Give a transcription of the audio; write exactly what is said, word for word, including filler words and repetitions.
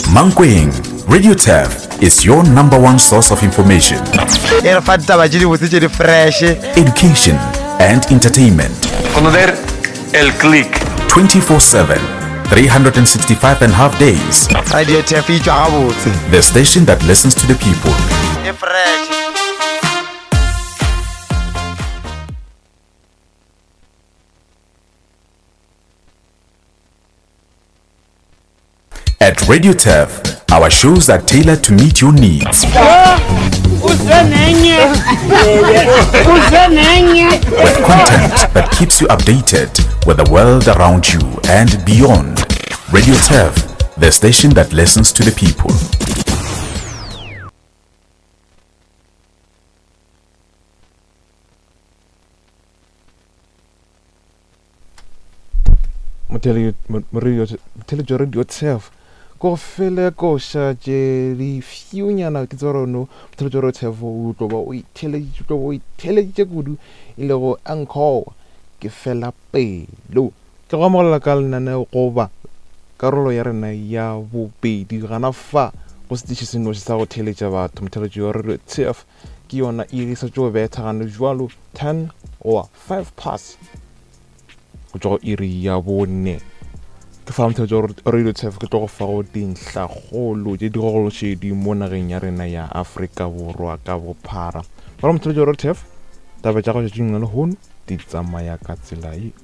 Mankweng, Radio Turf is your number one source of information. E re fa ditaba tše dibotse tše di fresh. Education and entertainment. Conocer el click. twenty-four seven, three hundred sixty-five and a half days. Radio Turf e tšwa gabotse. The station that listens to the people. E fresh. At Radio Turf, our shows are tailored to meet your needs. With content that keeps you updated with the world around you and beyond. Radio Turf, the station that listens to the people. Radio Turf go fele ko sha tše di fiunyana ke tsoro no motheletšo Radio Turf o tlo ba o itheleditše tlo ba o itheleditše kudu e le go encore ke fela pelo ke go amogela ka lenaneo goba karolo ya rena ya bobedi gana fa go setiši senoši sa go theletša batho motheletšo Radio Turf ke yona e sa tšo betha gane jwalo ten or five past go tšwa go iri ya bone ke fa motheletšo Radio Turf ke tlo go fa go dintlhakgolo tše di gogološedi mo nageng ya rena ya Afrika Borwa ka bophara. Ba motheletšo Radio Turf taba tša go tšatšing la lehono di tsamaya ka tsela ye.